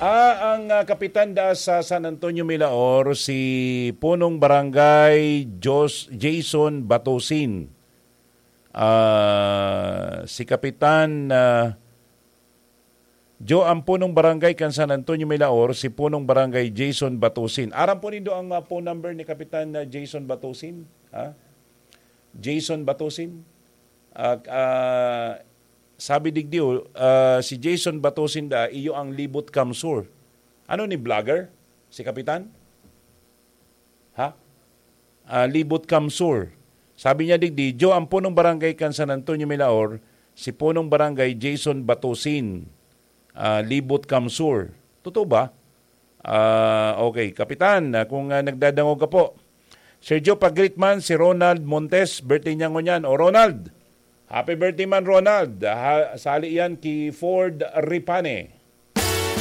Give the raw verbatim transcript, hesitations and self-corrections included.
Ah, ang, ah, kapitan da sa San Antonio Milaor, si Punong Barangay Jos-, Jason Batusin. Ah, si Kapitan, ah, Jo, ang Punong Barangay kan San Antonio Milaor, si Punong Barangay Jason Batusin. Aram po nindo ang, ah, phone number ni Kapitan, ah, Jason Batusin? Ha? Jason Batusin? Ah, ah, sabi digdi, oh, ah, si Jason Batusin da, iyo ang Libot Kamsur. Ano ni vlogger? Si Kapitan? Ha? Ah, Libot Kamsur. Sabi niya digdi, "Jo, ang Punong Barangay kan San Antonio Milaor, si Punong Barangay Jason Batusin, ah, Libot Kamsur." Totoo ba? Ah, okay. Kapitan, ah, kung, ah, nagdadangog ka po. Sergio, pag-greet man si Ronald Montes, birthday niya ngunyan. O Ronald, happy birthday man, Ronald. Ha, sali yan ki Ford Ripane.